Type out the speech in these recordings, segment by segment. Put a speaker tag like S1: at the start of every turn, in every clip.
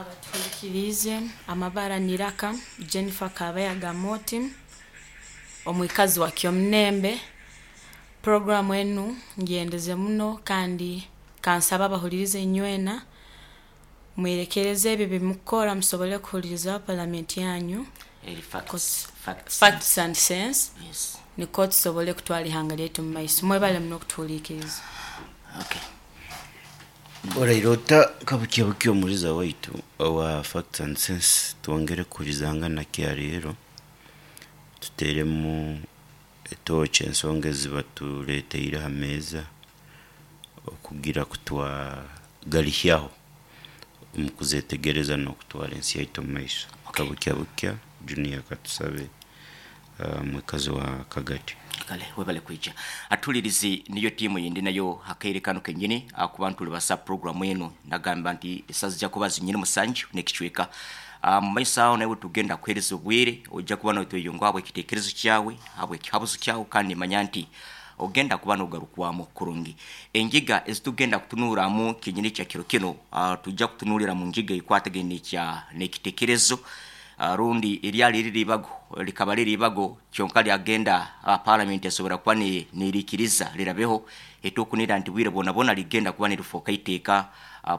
S1: Abatuhurikiriize, amabara niraka Jennifer Kabayaga Moti, omwikazi wa Kyomunembe. Puroguramu enu ngyendeze muno kandi kansabe abahuliriza inywena mwerekereze ebi ebimukukora musobole kuhulirizaho palamenti yanyu
S2: Eri facts, facts,
S1: Facts and Sense
S2: Yes.
S1: nikwo tusobole kutwara ihanga lyaitu mu maiso. Mwebale muno okutuhuliikiriza.
S2: Okay.
S3: Oraire ota kabukya bukya omuliza waitu owa Facts and Sense twongere kuhurizangana kya leero tuteremu etoochi ensonga ezibatureteire aha meeza okugira ku twagarihyaho omu kuzetegereza n'okutwara ensi yaitu omu maiso. Kabukya bukya Junior katusabe mwikazi wa Kagadi.
S2: Kale webale kwija. Atulirizi niyo tiimu yindi nayo hakaire kanu kenyini akuba ntulibasa program eno nagamba nti esazi zija kuba zinyini musanju nekicweka. Mumaiso aho naiwe tugenda kuhereza obwire oija kuba notweyungaho habwekitekerezo kyawe, habwekihabuzo kyawe kandi nimanya nti ogenda kuba nogarukwamu kurungi. Engiga ezitugenda kutunuramu kenyini kya kiro kino, tuija kutunulira mu ngiga ekwatagaine nekitekerezo rundi eryali riri ibago likaba riri ibago kyonka lyagenda palamenti esobora kuba nerikiriza rirabeho etokunira nti bwire bwona bwona ligenda kuba nirifoka iteeka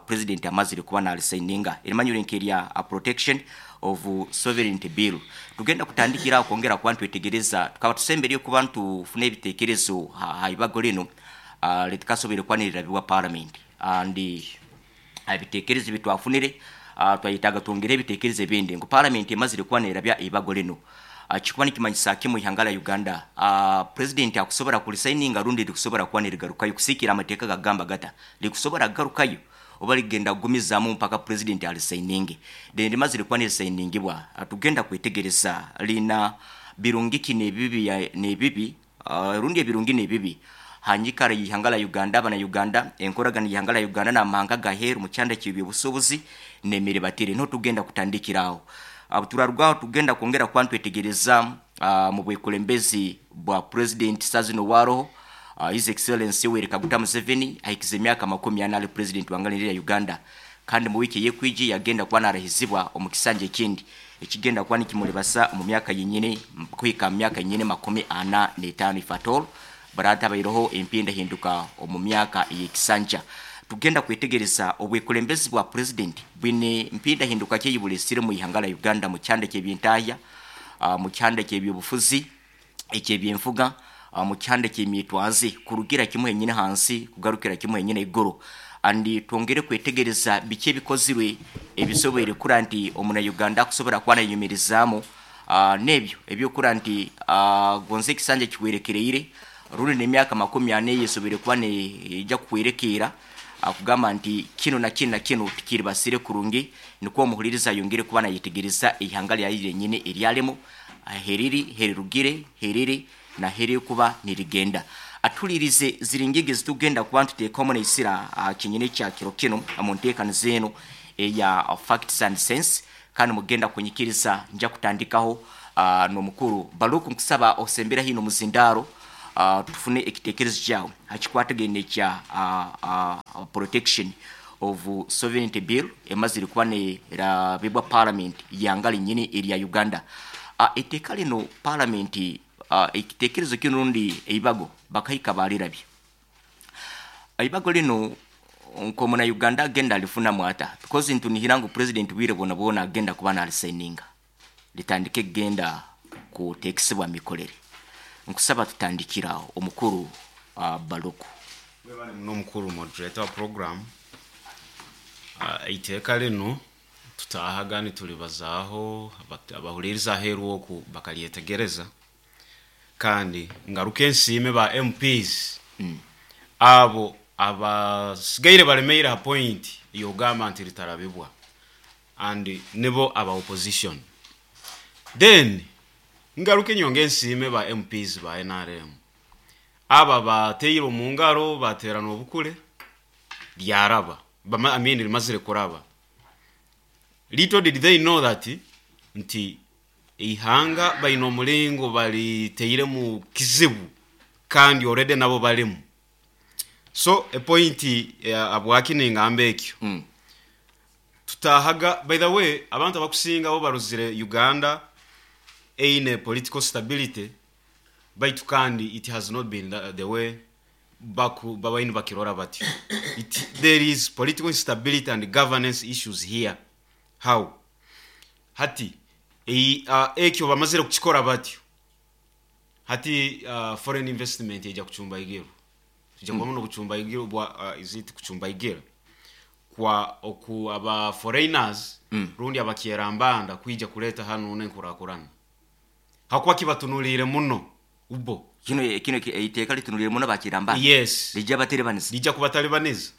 S2: president amazire kuba nalisaininga erimanyire nkerya Protection of Sovereignty Bill. Tugenda kutandikira aho kwongera kuba nitwetegereza tukaba tusemberire kuba nitufuna ebitekerezo ha ibago linu litikasoboire kuba nirirabibwa palamenti and ebitekerezo ebitwafunire twayetaaga twongere ebitekerezo ebindi ngu palamenti emazire kuba nerabya eibago linu kikuba nikimanyisa ki mwihanga lya Uganda president akusobora kurisaininga rundi rikusobora kuba nirigarukayo kusiikira amateeka gagamba gata rikusobora kugarukayo oba rigenda kugumizaamu mpaka president arisaininge then rimazire kuba nirisainingibwa tugenda kwetegereza riina birungi ki nebibi rundi ebirungi n'ebibi ha nyikara y'ihanga lya Uganda, abana Uganda, enkoragana y'ihanga lya Uganda n'amahanga ag'aheeru mu kyanda ky'eby'obusuubuzi n'emiribatire. Niho tugenda kutandikira aho. Obu turaruga aho tugenda kwongera kuba nitwetegereza mu bwekulembezi bwa Purezidenti saaha zinu owaaroho, His Excellency Yoweri Kaguta Museveni ahikize emyaka 40 ali Purezidenti wa nganda ya Uganda kandi mu wiiki ey'ekwija yagenda kuba naarahizibwa omu kisanja ekindi ekigenda kuba nikimuribasa omu myaka yenyini kuhika mu myaka yenyini 45 if at all barataabaireho empindahinduka omu myaka ey'ekisanja. Tugenda kwetegereza obwekulembezi bwa Purezidenti bwine mpindahinduka ki eyibuleesire omu ihanga lya Uganda mu kyanda ky'ebyentahya, mu kyanda ky'ebyobufuzi, eky'ebyenfuga, mu kyanda ky'emyetwaze kurugira kimu henyini hansi kugarukira kimu henyini haiguru. And twongere kwetegereza biki ebikozirwe ebisoboire kura nti omuna Uganda akusobora kuba nayeyumirizaamu n'ebyo ebyokura nti gonza ekisanja kihwerekereire rundi n'emyaka 40 eyesoboire kuba neija kuhwerekeera kugamba nti kinu na kinu na kinu tikiribasire kurungi nikwo omuhuliriza ayongere kuba nayetegereza eihanga lyaye ryenyini eryarimu heriri, herirugire, heriri na heririkuba nirigenda. Atulirize ziri ngigi ezitugenda kuba nituteekamu neisira kinyini kya kiro kinu omu nteekaniza enu eya Facts and Sense kandi mugenda kunyikiriza nja kutandikaho n'omukuru Baluku nkusaba osembere haihi n'omuzindaaro tufune ekitekerezo kyawe ha kikwatagaine ekya Protection of Sovereignty Bill emazire kuba nerabibwa palamenti y'ihanga rinyini erya Uganda. Eiteeka linu palamenti ekitekerezo kinu rundi eibago bakahika baalirabya. Eibago linu nk'omuna Uganda agenda alifunamu ata? Because ntunihira ngu president bwire bwona bwona agenda kuba nalisaininga litandike kugenda kuteekesebwa mikorere. Nkusaba tutandikire aho omukuru Baluku.
S4: Webale muno omukuru moderator wa program. Eiteeka linu tutaahaga nitulibazaaho abahuliriza aheeru oku bakalyetegereza kandi ngaruke nsiime ba MPs abo abasigaire balemeire ha point ey'okugamba nti litarabibwa and nibo aba opposition. Then ngaruke nyonge nsiime ba MPs ba NRM abo abateire omu ngaro bateerana obukule lyaraba, I mean limazire kuraba. Little did they know that nti eihanga baine omulingo baliteiremu kizibu kandi already nabo balimu. So epointi habwaki ningamba ekyo, Tutahaga, by the way, abantu abakusinga bo baruzire Uganda eine political stability, baitu kandi it has not been the way baku babaini bakirora batyo. There is political instability and governance issues here. How hati ekyo bamazire kukikora batyo, hati foreign investment ejja kucumbaigirwa, tujja kubamu n'obucumbaigirwa bwa is it kucumbaigirwa kwa oku aba foreigners rundi abakyerambanda kwija kuleta hano n'enkurakurana, hakuba kibatunulire muno ubo.
S2: Kino iteeka litunulire muno bakiramba.
S4: Yes.
S2: Lijja baterebaniza.
S4: Lijja kubatalibaniza,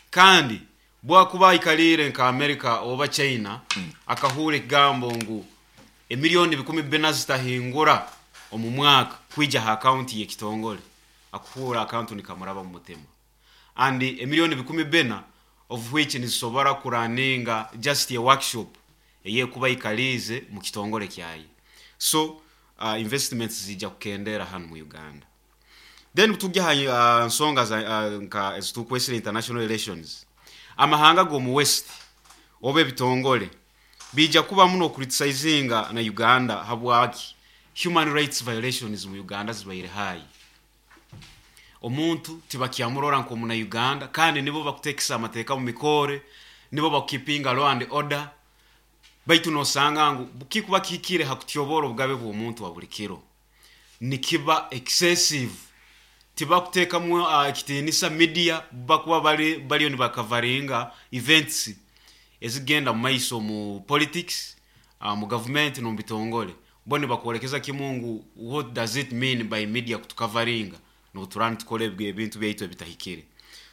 S4: kandi bwakuba aikalire nka America oba China, akahura ekigambo ngu emiliyoni 4,000 zitahingura omu mwaka kwija ha akaunti y'ekitongole, akuhura akantu nikamuraba mu mutima. And emiliyoni 4,000 of which nizisobora kuraninga just a workshop eyekuba ikalize mu kitongole kyaye. So investments zijja kukendera hano mu Uganda. Then tujya ha nsonga za nka ezitukwesire international relations, amahanga g'omu West oba ebitongole bijja kuba muno criticizinga na Uganda. Habwaki? Human rights violations mu Uganda zibaire high. Omuntu tibakyamurora nk'omuna Uganda, kandi nibo bakutekesa amateeka mu mikore, nibo bakukipinga law and order. Baitu nosanga ngu kikuba kihikire hakutyobora obugabe bw'omuntu wa buli kiro, nikiba excessive. Tibakuteekamu ekitiinisa media, bakuba bariyo nibakavaringa events ezigenda mu maiso mu politics, mu government n'omu bitongole. Bo nibakwolekeza kimu ngu what does it mean by media kutukavaringa noturani tukora ebintu byaitu ebitahikire.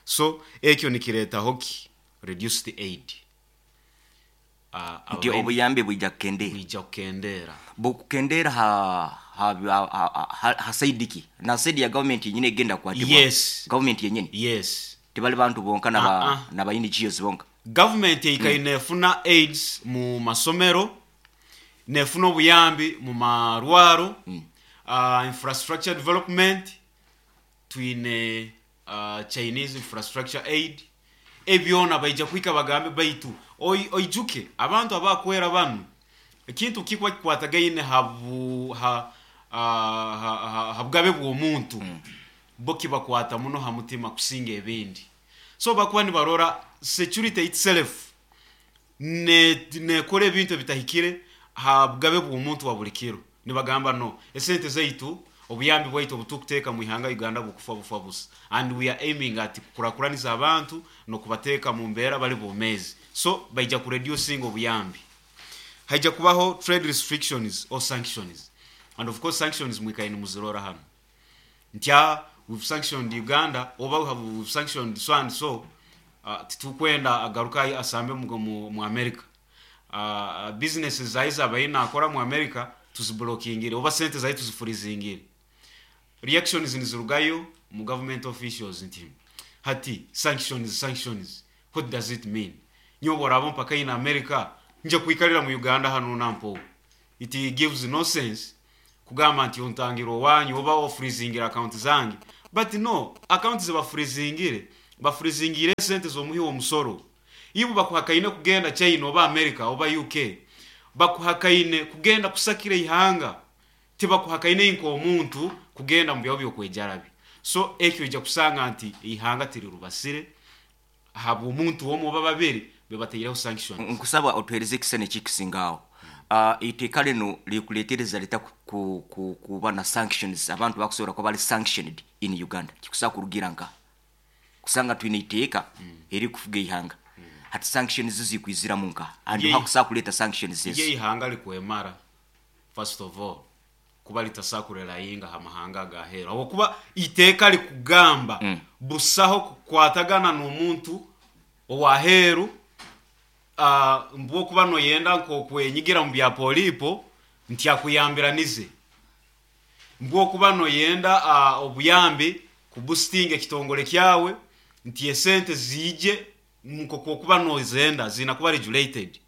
S4: So ekyo nikireetaho ki reduced aid.
S2: Nti obuyambi bwijja kukendera.
S4: Bwijja kukendera.
S2: Bukukendera ha side ki? Na side ya government yenyine egenda kukwatibwa?
S4: Yes.
S2: Government yenyine?
S4: Yes.
S2: Tibali bantu bonka na ba NGOs bonka?
S4: Government eikaire nefuna aids mu masomero, nefuna obuyambi mu marwaro, infrastructure development, twine Chinese infrastructure aid. Ebyona baija kwika bagambe baitu oijuke abantu abakwera banu ekintu kikuba kikwatagaine habu ha, ha, ha, ha bugabe bw'omuntu, bo kibakwata muno ha mutima kusinga ebindi. So bakuba nibarora security itself nekora ebintu ebitahikire ha bugabe bw'omuntu wa buli kiro, nibagamba no esente zaitu, obuyambi bwaitu obutukuteeka mu ihanga Uganda bukufa bufa busa, and we are aiming at kukurakuraniza abantu n'okubateeka mu mbeera bali bomezi. So baija kureducing obuyambi. Haija kubaho trade restrictions or sanctions, and of course sanctions mwikaine muzirora hano ntya we've sanctioned Uganda oba we've sanctioned so and so, titukwenda agaruka asambe mu America, businesses zaye zabaye nakora mu America tuziblokingire, oba sente zaye tuzifreezingire. Reactions nizirugayo mu government officials nti hati sanctions, sanctions, what does it mean? Nyoba abo mpaka in America nje kwikalira mu Uganda hano nampo. It gives no sense kugamba nti ontangira owanyu oba ofreezingira account zange. But no, account zebafreezingire, bafreezingire sente z'omuhi w'omusoro. Ibo bakuhakaine kugenda China oba America oba UK, bakuhakaine kugenda kusakira ihanga, tibakuhakaine nk'omuntu kugenda mu byaho byokwejarabi. So ekyo ija kusanga nti ihanga tirirubasire habw'omuntu omwe oba babiri bebateireho sanctions.
S2: Nkusaba otuhereze ekisane kikisingawo. Iteeka lino likuletereza lita kuba na sanctions, abantu bakusobola kuba bali sanctioned in Uganda? Kikusaba kurugira nka kusanga twine iteeka erikufuga ihanga, hati sanctions zikwiziramu nka and hakusaba kuleta sanctions ezo?
S4: Ye ihanga likwemara, first of all, kuba litasakurela ha mahanga agahera, habwokuba iteeka likugamba busaho kukwatagana n'omuntu owaheru, mbwokuba noyenda nk'okwenyigira mu bya polipo nti akuyambiranize, mbwokuba noyenda obuyambi kuboostinga ekitongole kyawe nti esente ziije nk'okwokuba nozenda zina kuba regulated.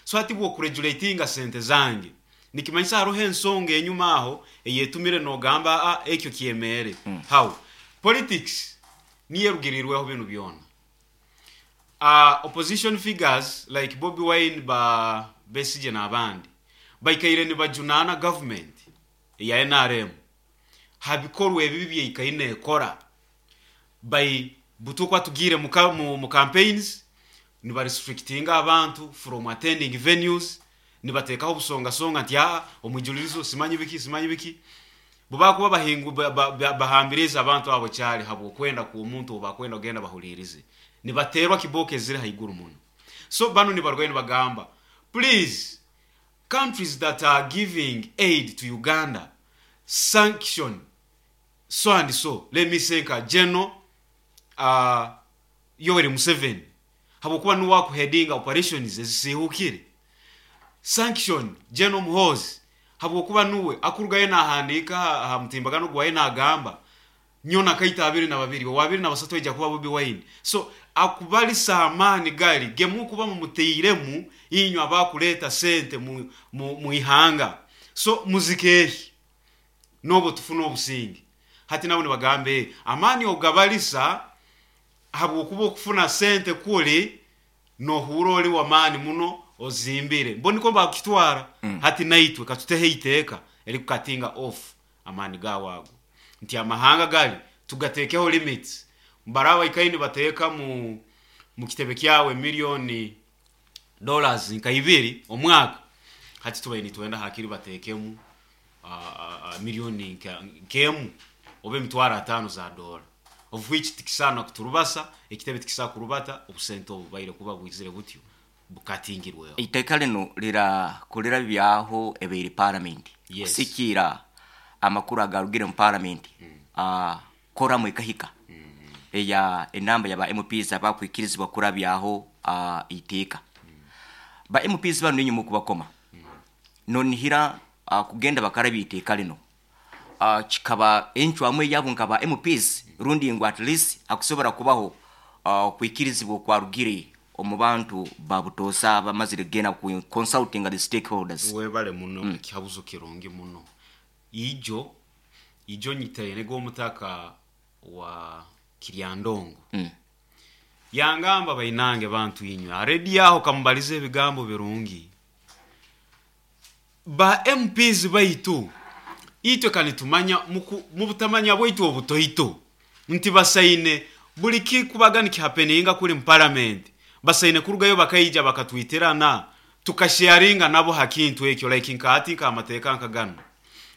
S4: So hati bwokuregulatinga sente zange, nikimanyisa hariho ensonga enyuma aho eyetumire nogamba ekyo kyemere. How politics niyo erugirirweho binu byona. Opposition figures like Bobi Wine, ba Besigye n'abandi baikaire nibajunaana government eya NRM ha bikorwa ebibi byaikaire nekora by butukwa tugiire mu campaigns, nibarestrictinga abantu from attending venues, nibateekaho obusongasonga nti aa omwijulirizo simanyi biki simanyi biki. Bubakuba bahingu bahambirize abantu abo kyali habwokwenda kw'omuntu obakwenda kugenda bahulirize, nibaterwa kibooko eziri haiguru muno. So bano nibarwayo nibagamba, please, countries that are giving aid to Uganda, sanction so and so, let me say nka General Yoweri Museveni, habwokuba nuwe akuheadinga operations ezisiihukire. Sanction General Muhoozi, habwokuba nuwe akurugayo nahandiika ha mutimbagano gwaye nagamba nyowe nakaita 22, owa 23 aija kuba Bobi Wine. So akubalisa amaani gali gemukuba mumuteiremu inywe abakuleeta sente mu ihanga. So muzikeehi n'obwo tufune obusinge. Hati nabo nibagamba amaani ogabalisa habwokuba okufuna sente kuli nohuura oli wamaani muno ozimbire, bo niko bakukitwara. Hati naitwe katuteho iteeka erikukatinga off amaani gaawe ago, nti amahanga gali tugateekeho limits. Baraba baikaire nibateeka mu kitebe kyawe miliyoni dollars nka 2 omwaka, hati tubaire nitwenda hakiri bateekemu miliyoni nk'emu oba 50,000 za dola, of which tikisaana kuturubasa, ekitebe tikisaana kurubata obusente obu bubaire kuba bwizire butyo bukatingirweho.
S2: Iteeka lino lirakolera byaho ebaire parliament.
S4: Yes.
S2: Kusikiira amakuru agarugire mu parliament, koramu ekahika eya enamba yaba MPs abakwikirizibwa kurabyaho iteeka. Ba MPs bano ninyuma okubakoma nonihira kugenda bakarabya iteeka lino, kikaba encwamu eyabo nka ba MPs, rundi ngu at least akusobora kubaho okwikirizibwa okwarugire omu bantu babutoosa bamazire kugenda ku consulting the stakeholders.
S4: Webale muno, ekihabuzo kirungi muno. Ijo nyitaine g'omutaka wa Kiryandongo. Yangamba bainange bantu inywe aredi aho kamubalize ebigambo birungi ba MPs baitu itwe kanitumanya mubutamanya bwaitu obutoito nti basaine buli kikubaga nikihapeninga kuli mu parliament, basaine kurugayo bakaija bakatwitirana tukasharinga nabo hakintu ekyo, like nkaati nk'amateeka nkagano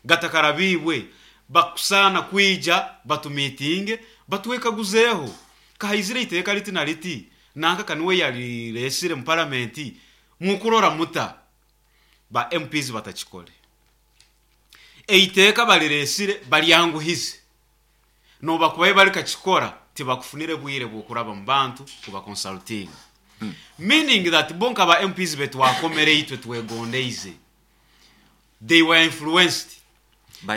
S4: gatakarabiibwe bakusana kwija batumitinge batwekaguzeeho kahaizire iteeka liti na liti nanka kaniwe yaliresire mu parliament mukurora muta. Ba MPs batakikole, eiteeka baliresire balyanguhize, nobakubaye balikakikora tibakufunire bwire bw'okuraba mu bantu kuba consulting. Meaning that bo nka ba MPs betwakomere itwe twegondeize, they were influenced.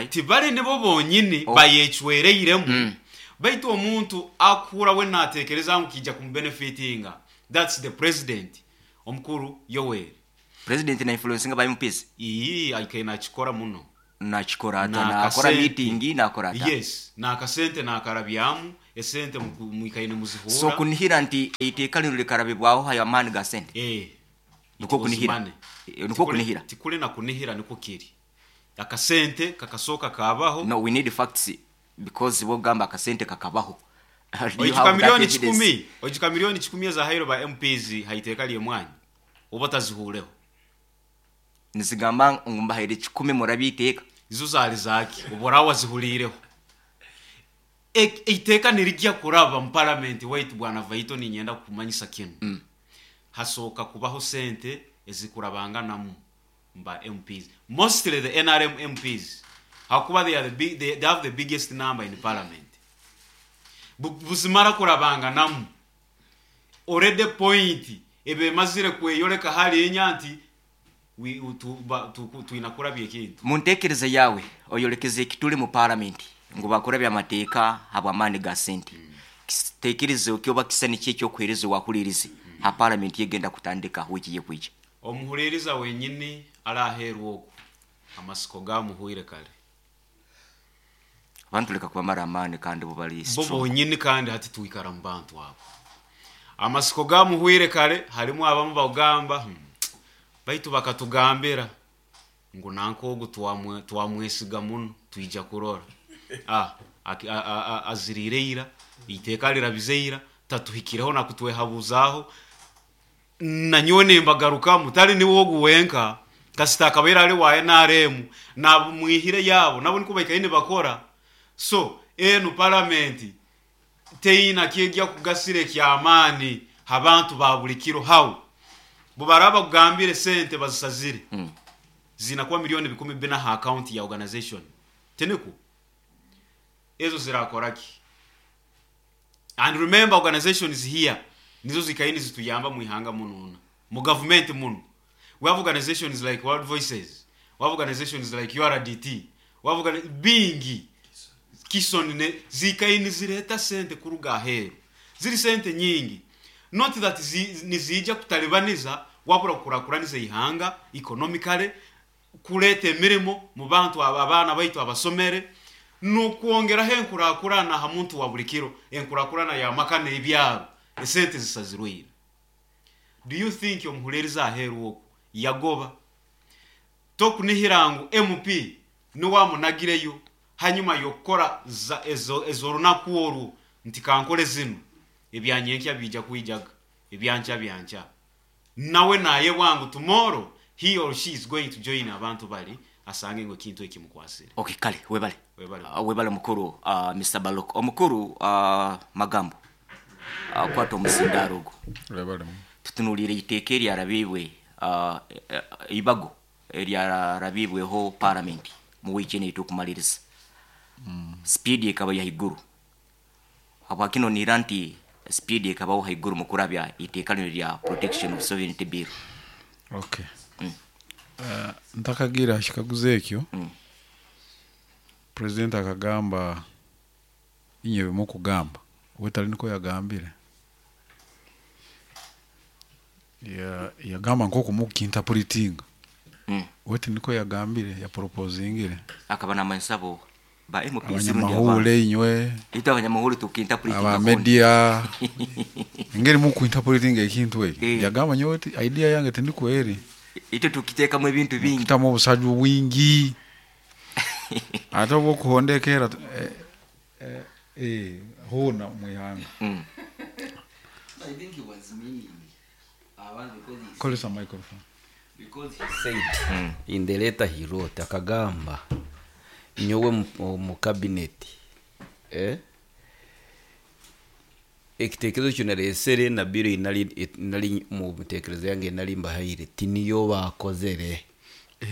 S4: Tibali nibo bonyini bayecwereiremu. Baitu omuntu akuhura we natekereza ngu kijja kumubenefitinga, that's the president omukuru Yoweri.
S2: President na influencinga ba MPs?
S4: Ii, aikaire nakikora muno.
S2: Nakikora ata? Nakora meeting, nakora ata?
S4: Yes, nakasente nakarabyamu esente mwikaine muzihura.
S2: So kunihira nti iteeka lino likarabibwaho hayo amaani ga sente? Niko kunihira. Niko kunihira.
S4: Tikuli na kunihira, niko kiri. Akasente kakasoka kabaho.
S2: No, we need facts because wogamba akasente kakabaho.
S4: Oijuka milioni 10, oijuka milioni 10 za hairo ba MPs haiteka liye mwanyi. Oba tazihureho.
S2: Nizigamba ngu mbahaire 10 murabi iteeka.
S4: Izo zali zaki obora wazihulireho. Iteeka nirijya kuraba mu parliament waitu bwana Vaito, ninyenda kumanyisa kinu. Hasoka kubaho sente ezikurabanganamu mba MPs, mostly the NRM MPs, hakuba they are the big, they have the biggest number in parliament. Buzimara kurabanganamu already point ebe mazire kweyoleka hali enya nti tuinakura byekintu.
S2: Muntekereza yawe oyolekeze ekituli mu parliament ngu bakora byamateeka habwamaani ga sente. Tekereza okyoba kisani kyekyo okuhereza wahulirize ha parliament yegenda kutandika wiki yekwija.
S4: Omuhuliriza wenyini alaherwa oku amasiko gamuhuire kale.
S2: Abantu leka kubamara amaani kandi bo bali
S4: bo
S2: strong.
S4: Bonyini kandi hati tuikara mu bantu abo. Amasiko gamuhwire kare harimu abamu bagamba baitu bakatugambira ngu nanka ogu twamwesiga muno twija kurora aziriire ira iteeka lirabize ira tatuhikireho nakutwehabuzaho nanyowe nembagarukamu tali niwe ogu wenka kasita akabaire ali wa NRM nabumwihire yabo nabo niko baikaire nibakora. So enu palamenti teina kyejja kugasira ekyamaani abantu ba buli kiro hau bubaraba kugambire sente bazisazire zinakuwa 400,000 ha account ya organization teniku ezo zirakoraki. And remember, organizations here nizo zikaini zituyamba muihanga mununa mu government muno. We have organizations like World Voices, we have organizations like URDT, we have bingi Kison ne zikaini zireta sente kuruga aheru, ziri sente nyingi, not that nizija kutalibaniza wabura kukurakuraniza ihanga economically, kuleta emirimo mu bantu abaana baitu abasomere nukwongeraho enkurakurana ha muntu wa buli kiro, enkurakurana ya maka n'ebyaro, esente zisazirweire. Do you think omuhureriza aheru oku yagoba tokunihira ngu MP niwamunagireyo hanyuma yokukora ezo runaku orwo nti kankole zino ebyanyenkya bija kwijaga ebyancha byancha nawe naye bwangu tomorrow he or she is going to join abantu bali asange ngo kintu ekimukwasire.
S2: Okay, kale webale.
S4: Webale.
S2: Webale mukuru Mr. Balok. Omukuru Magambo. Kwata omusindaro ogwo.
S5: Webale.
S2: Tutunulire iteeka eryarabibwe ibago eryarabibweho parliament mu wiiki eno etukumaliriza. Speed ekaba yaiguru. Habwakino nira nti speed ekabaho haiguru mu kurabya iteeka lino lya Protection of Sovereignty Bill.
S5: Okay. Ntakagira kikaguzo ekyo. President akagamba inye bimukugamba wetali niko yagambire. Yagamba nk'oku mukinterpretinga. Wete niko yagambire ya proposingire.
S2: Akaba n'amansabo ba MPs
S5: abanyamahule inywe
S2: ito abanyamahule tukinterpretinga
S5: aba media engeri mukuinterpretinga ekintu ekyo. Yagamba nyowe idea yange tindiko eri.
S2: Ito tukiteekamu ebintu bingi
S5: kitamu obusaju bwingi ate obwokuhondekera hona mwihanga.
S6: I think he was meaning abantu because he
S5: Kolesa microphone.
S6: Because he said in the letter he wrote akagamba nyowe mu cabinet ekitekerezo kyo naresere na biro inali mu mitekerezo yange nali mbahaire tiniyo bakozere.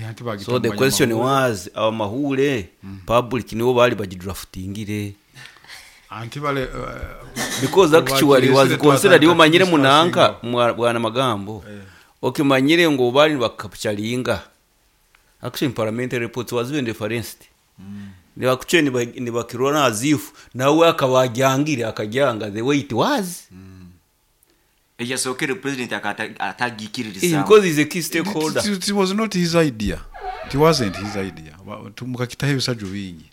S5: Anti bagita
S6: So the
S5: mu
S6: question
S5: banyamahule.
S6: was abamahule public nibo bali bagidraftingire.
S5: Anti bale
S6: because actually was
S5: bakiresere
S6: considered
S5: twatandika
S6: omanyire munanka
S5: discussinga.
S6: Bwana Magambo. Okimanyire ngo bali bakapchalinga action parliamentary reports was even referenced. Nibakuche nibakirona azifu nawe akabajangire akajanga the way it was.
S2: Eyasokere president atagikiririza.
S6: Because he's a key stakeholder.
S5: It was not his idea. It wasn't his idea. Mukakitaho ebisaju bingi.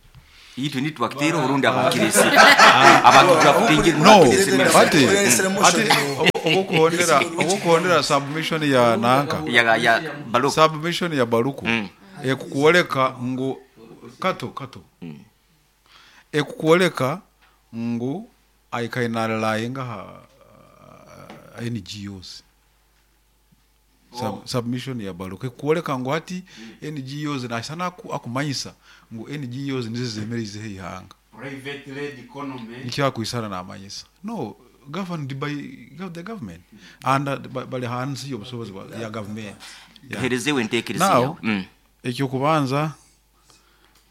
S2: Itu ni twakitera orundi abakirisi. Abakidraftingire
S5: No,
S2: mukakirisi.
S5: ati obukuhondera submission ya nanka.
S2: Ya Baluku.
S5: Submission ya Baluku. Ekukuoleka ngu kato. Ekukuoleka ngu aikainalalainga ha NGOs. Submission ya Baluku ekukuoleka ngu hati NGOs na sana akumanyisa ngu NGOs nizo zemereze ihanga.
S4: Private led economy.
S5: Nikyo akuisana na amanyisa. No, governed by the government. And bali hansi y'obusobozi ya government. Yeah.
S2: Tuherezewe enteekereza
S5: Now,
S2: yawe.
S5: Ekyo kubanza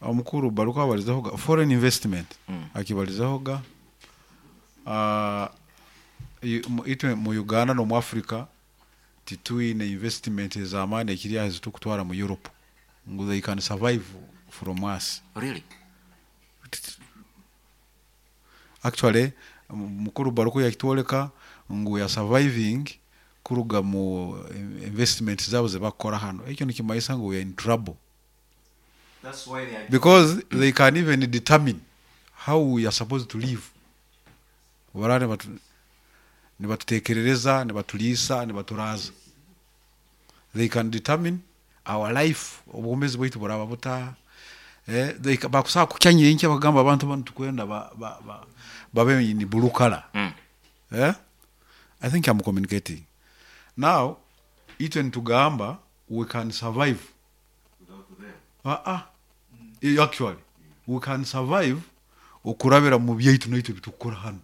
S5: omukuru Baluku abalizaho ga foreign investment. Akibalizaho ga itwe mu Uganda no mu Africa tituine investment ez'amaani ekiri aho zitukutwara mu Europe ngu they can survive from us.
S2: Really?
S5: Actually mukuru Baluku yakitwoleka ngu ya surviving kuruga mu investment zabo zebakora hano. Ekyo nikimayisa ngu we are in trouble.
S4: That's why they are
S5: Because they can even determine how we are supposed to live. Barare batu Nibatutekerereza, nibatuliisa, nibaturaza. They can determine our life, obwomezi bwaitu buraba buta. Bakusobola kukya nyenkya bakagamba abantu banu tukwenda babe in blue color. I think I'm communicating. Now, itwe nitugamba we can survive. Actually, we can survive okurabira mu byaitu naitwe bitukukora hanu.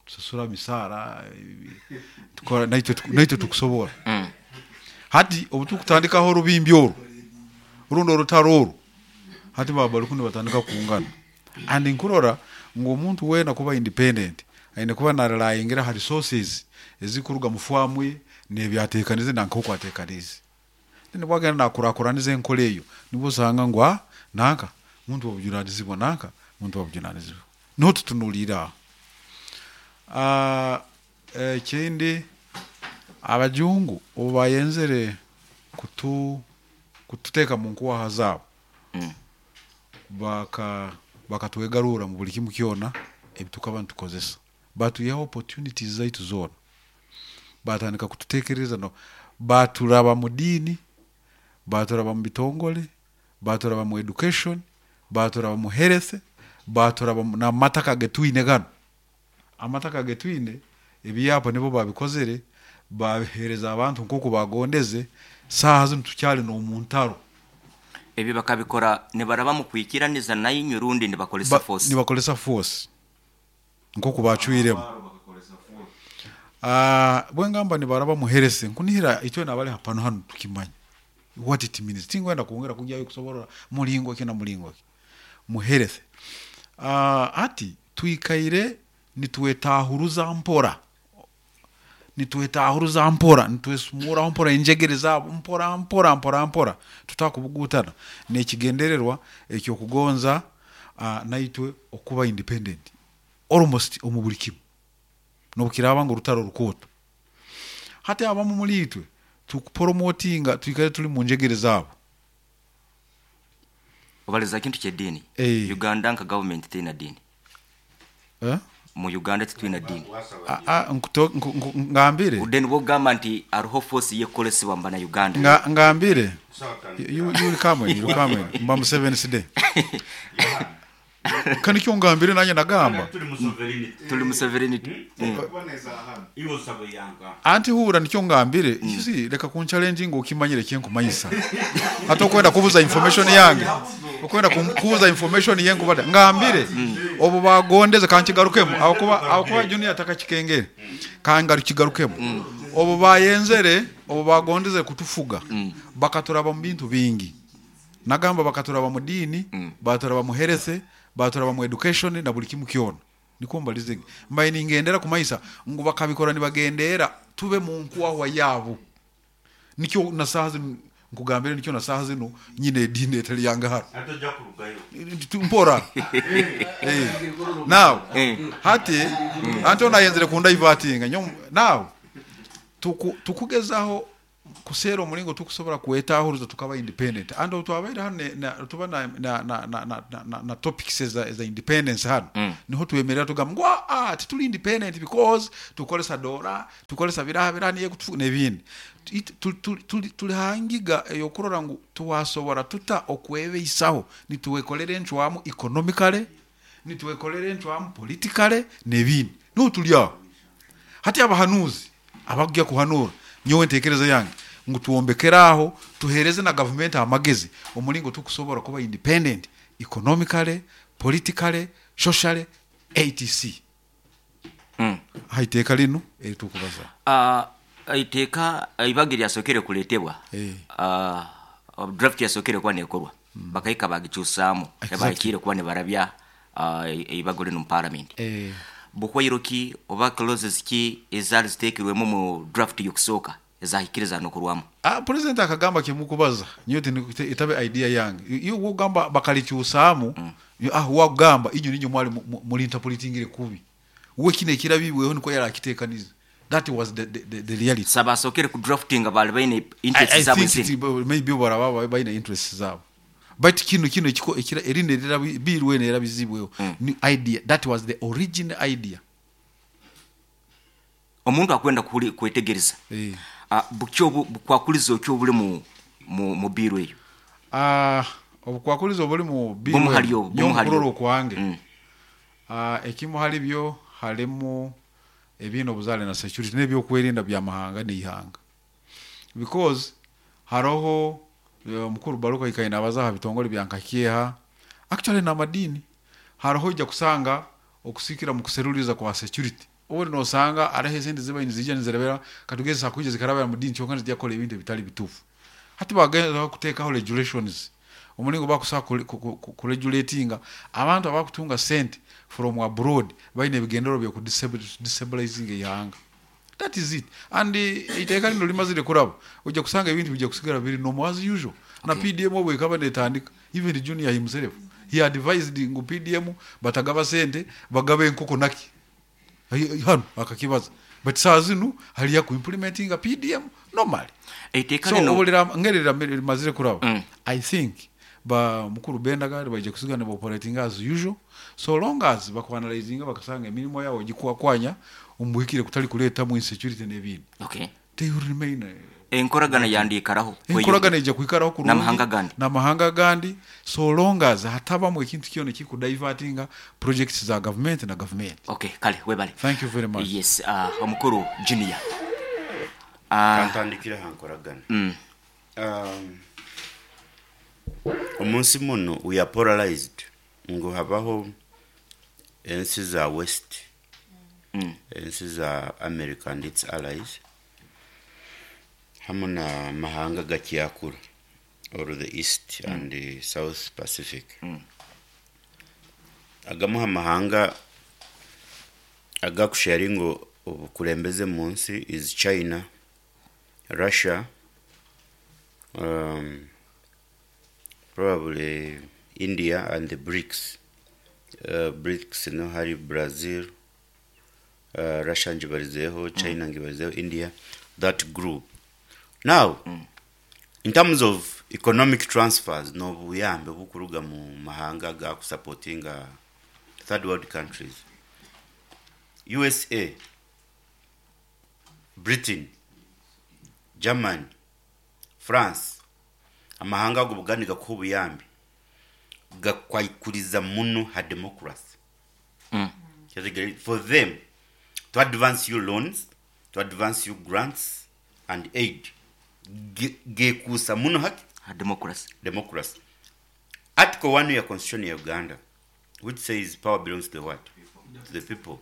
S5: Tusasura misaara, tukora naitwe tukusobora. Hati obu tukutandikaho orubimbi oru, rundi orutaro oru, hati baba bari kunu nibatandika kungana. And nkurora ngu omuntu weena kuba independent, aine kuba narelyingira ha resources ezikuruga mu faamu ye n'ebyateekanize na nk'oku ateekanize. Then bwagenda nakurakuraniza enkora eyo, nibwo osanga ngu nanka muntu wabujunanizibwa, nanka muntu wabujunanizibwa. Niho tutunuliire aho. Ekindi, abajungu obu bayenzere kututeeka mu nkuwaha zaabo, bakatwegarurra mu buli kimu kyona ebi tukaba nitukozesa. Batwihaho opportunities zaitu zoona. Batandika kututeekereza, baturaba mu diini, baturaba mu bitongole, baturaba mu education, baturaba mu health, baturaba n'amataka getwine ganu. Amataka getwine, ebyapa nibo babikozere, babihereza abantu nk'oku bagondeze, saaha zinu tukyali n'omu ntaro.
S2: Ebi bakabikora nibaraba mu kwikiraniza nainywe rundi nibakozesa force?
S5: Nibakozesa force nk'oku bacwiremu. Bwengamba nibaraba mu health, nkunihira itwe nabali hapano hanu tukimanya what it means. Tingwenda kwongera kugyayo kusoborora mulingo ki na mulingo ki mu health. Hati twikaire nitwetahuruza mpora, nitwetahuruza mpora, nitwesumuraho mpora enjegere zaabo mpora mpora mpora mpora, tutakubugutana n'ekigendererwa ekyokugonza naitwe okuba independent almost omu buli kimu, n'obukiraaba ngu orutaro rukooto. Hati abamu muri itwe tukupromotinga, twikare turi mu njegere zaabo.
S2: Obaliza kintu ky'eddiini. Uganda nka government teina diini. Mu Uganda titwina diini.
S5: Ngambire.
S2: Then bwogamba nti hariho force yekukolesebwa mu bana Uganda.
S5: Ngambire. You will come in, you come in. Mba mu Seventh Day. Kandi kyo ngambire nanye nagamba.
S2: Tuli mu sovereignty.
S5: Anti hura nikyo ngambire. You see, leka kun challenge ngo ukimanyire kyenkumanyisa. Hata okwenda kubuza information yange. Okwenda kubuza information yengu bada. Ngambire. Obu bagondeze kankigarukemu. Abakuba junior atakakikengere. Kangarukigarukemu. Obu bayenzere, obu bagondeze kutufuga. Bakaturaba mu bintu bingi. Nagamba bakaturaba mu dini, baturaba mu health, baturaba mu education na buli kimu kyona. Niko mbalize. Mbaye ningendera kumaisa ngu bakabikora nibagendera tube mu nkuwa yabo. Nikyo na saha zinu nkugambire, nikyo na saha zinu nyine edini etali yanga haro. Mpora. Now, hati anto nayenzere kunda ivatinga. Now tukugezaho kusera omulingo tukusobora kwetahuruza tukaba independent. Ando twabaire hano tuba na topics eza independence hano. Niho twemerera tugamba ngu tituli independent because tukolesa dola, tukolesa biraha biraha niye kutufu n'ebindi. Tuli hangiga eyokurora ngu tuwasobora tuta okwebeisaho, nituwekolera encwamu economically, nituwekolera encwamu politically n'ebindi. Niho tuli aho. Hati abahanuzi abakujya kuhanura, nyowe ntekereza yange ngu tuwombekeraho, tuhereze na government amagezi omulingo tukusobora kuba independent economically, politically, socially, etc. Haiteeka linu eritukubaza.
S2: Iteeka ibagi lyasokere kuletebwa. Draft yasokere kuba nekorwa. Bakahika bagikyusaamu. Bahikire kuba nibarabya ibago linu mu parliament. Buhwairo ki oba clauses ki ezali zitekirwemu mu draft y'okusooka ezahikiriza nokurwamu?
S5: President akagamba kimukubaza nyowe itabe idea yange. Iyo wogamba bakalikyusaamu, wagamba inyo ninyo mwali muri interpretingire kubi. Uwe kine ekirabibweho niko yarakitekaniza. That was the reality.
S2: Saba sokere ku drafting abali baine interests zabo
S5: I think it, maybe baraba baine interests zabo. But kino ekiko ekira erinde erira birwe nera bizibweho. Ni idea, that was the original idea.
S2: Omuntu akwenda kwetegereza bukyo bukwakulizo okyo obuli mu bill eyo.
S5: Obukwakulizo obuli mu bill
S2: Bumuhali.
S5: Okwange ekimu hali byo halimu ebintu obuzale na security n'ebyokwerinda byamahanga n'ihanga, because haroho mukuru Baruka ikaine abaza aha bitongole bya nkakyeha actually n'amadini, haroho ijja kusanga okusikira mu kuseruliza kwa security, obundi nosanga hariho esente ziba nizija nizirabira katugeze hakuija zikarabira mu dini, kyonka nizijya kukora ebintu ebitali bituufu. Hati bagenda kuteekaho regulations omulingo bakusobola kuregulatinga abantu abakutunga sente from abroad baine ebigendero byo destabilizing ihanga. That is it. And iteeka lino limazire kuraba, ojja kusanga ebintu bijja kusigara biri normal as usual. Na PDM obu ekaba netandika, even Junior himself he advised ngu PDM batagaba sente, bagaba enkoko naki hano akakibaza, but saa zinu haliya kuimplementinga PDM normally.
S2: Eiteeka
S5: So
S2: lino
S5: obulira ngeri limazire kuraba, I think ba mukuru Bendaga baija kusigana operating as usual, so long as bakuanalyzinga bakasanga emirimo yabo gikwakwanya omubuhikire kutali kuleetamu insecurity n'ebindi, they will remain.
S2: Enkoragana yandiikaraho?
S5: Enkoragana ijja kwikaraho kurungi
S2: n'amahanga gandi.
S5: N'amahanga gandi, so long as hatabamu ekintu kyona ekikudivertinga projects za government na government.
S2: Okay, kale webale.
S5: Thank you very much.
S2: Yes, omukuru Junior.
S3: Kantandikire ha nkoragana. Omunsi muno we are polarized, ngu habaho ensi za West, ensi za America and its allies, hamu na mahanga gakyakura or the East and the South Pacific. Agamu ha mahanga agakusharinga obukulembeze mu nsi is China, Russia, probably India and the BRICS. BRICS no hari Brazil, Russia ngibarizeho, China ngibarizeho, India, that group. Now, in terms of economic transfers n'obuyambe obukuruga mu mahanga agakusupportinga third world countries, USA, Britain, Germany, France, amahanga ago bugandi gakuha obuyambi gakwikuriza muno ha democracy. For them to advance you loans, to advance you grants and aid, gekuusa muno haki
S2: Ha democracy.
S3: Democracy. Article 1 ya constitution ya Uganda, which says power belongs to the what? To the people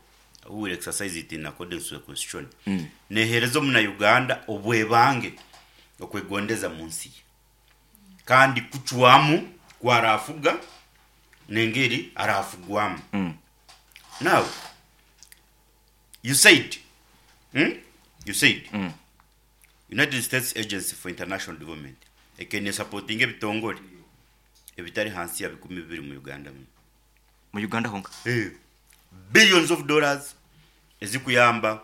S3: who will exercise it in accordance to the constitution. Nehereza omuna Uganda obwebange okwegondeza mu nsi ye, kandi kucwamu kwarafuga nengeri arafugwamu. Now you said, You said United States Agency for International Development ekene supporting ebitongole ebitari hansi ya 2000 mu Uganda muno.
S2: Mu Uganda honka.
S3: Billions of dollars ezikuyamba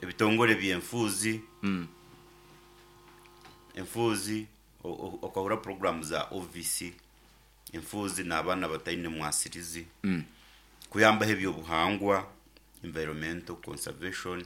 S3: ebitongole byenfuuzi, enfuuzi okahura program za OVC, enfuuzi n'abaana bataine mwasirizi, kuyambaho ebyobuhangwa, environmental conservation.